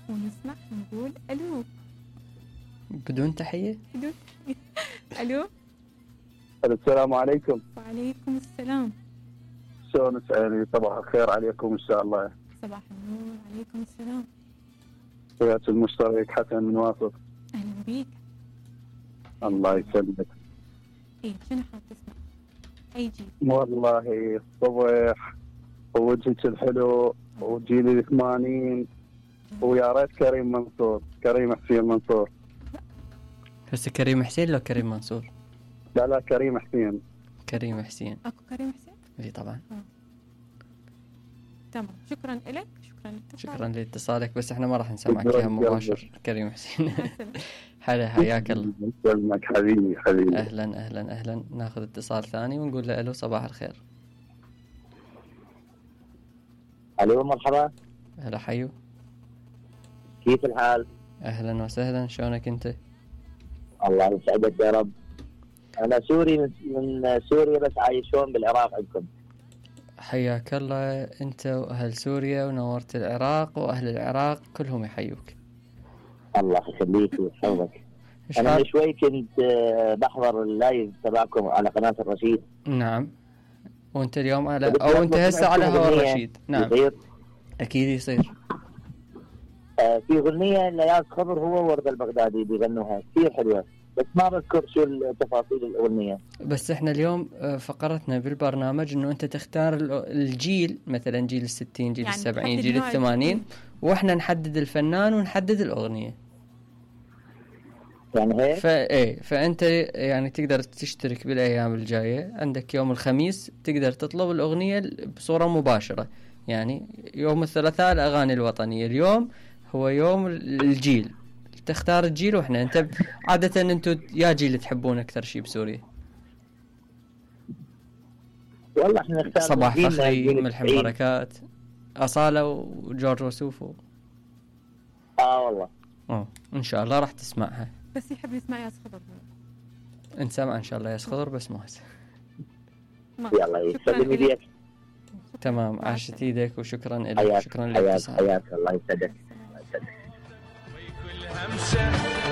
ونسمع نقول الو بدون تحية. الو. السلام عليكم. وعليكم السلام. شلون سعيد؟ صباح الخير عليكم ان شاء الله. صباح النور. عليكم السلام. وياك المشترك حسن من واسط. اهلا بيك. الله يسلمك. ايه شنو حاب تسمع؟ اي جيل؟ والله الصبح ووجهك الحلو وجيل ال80 ويا ريت كريم منصور، كريم حسين منصور. هسه كريم حسين لو كريم منصور؟ لا كريم حسين. كريم حسين. اكو كريم حسين؟ اي طبعا. تمام. شكرا لك. شكرا لاتصالك، بس احنا ما راح نسمعك اياها مباشر. كريم حسين. هلا حياك الله. يسلمك حبيبي. اهلا. ناخذ اتصال ثاني ونقول له الو صباح الخير. الو مرحبا. هلا حيو. كيف الحال؟ اهلا وسهلا، شلونك انت؟ الله يسعدك يا رب. انا سوري من سوريا بس عايشون بالعراق عندكم. حياك الله انت واهل سوريا، ونورت العراق، واهل العراق كلهم يحيوك. الله يخليك ويحفظك. انا من شوي كنت بحضر اللايف تبعكم على قناة الرشيد. نعم. وانت اليوم على او انت هسه على هوا الرشيد؟ نعم. يصير؟ اكيد يصير. في اغنية لياس خضر هو ورد البغدادي بيغنوها كثير حلوة، بس ما بذكر شو التفاصيل الأغنية. بس احنا اليوم فقرتنا بالبرنامج انه انت تختار الجيل، مثلا جيل ال60، جيل يعني ال70، جيل ال80، واحنا نحدد الفنان ونحدد الأغنية. يعني هيك؟ فانت يعني تقدر تشترك بالايام الجاية. عندك يوم الخميس تقدر تطلب الأغنية بصورة مباشرة، يعني يوم الثلاثاء الأغاني الوطنية، اليوم هو يوم الجيل، تختار الجيل. واحنا انت عادة انتو يا جيل تحبون اكثر شيء بسوريا؟ والله احنا نختار صباح فخري، ملحم بركات، أصالة وجورج وسوف. والله ان شاء الله راح تسمعها. بس يحب يسمع ياس خضر. نسمع ان شاء الله ياس خضر، بس مو هسه. يلا يسلم ايديك. تمام. عاشت ايدك وشكرا لك. شكرا لك. حياك الله يسعدك.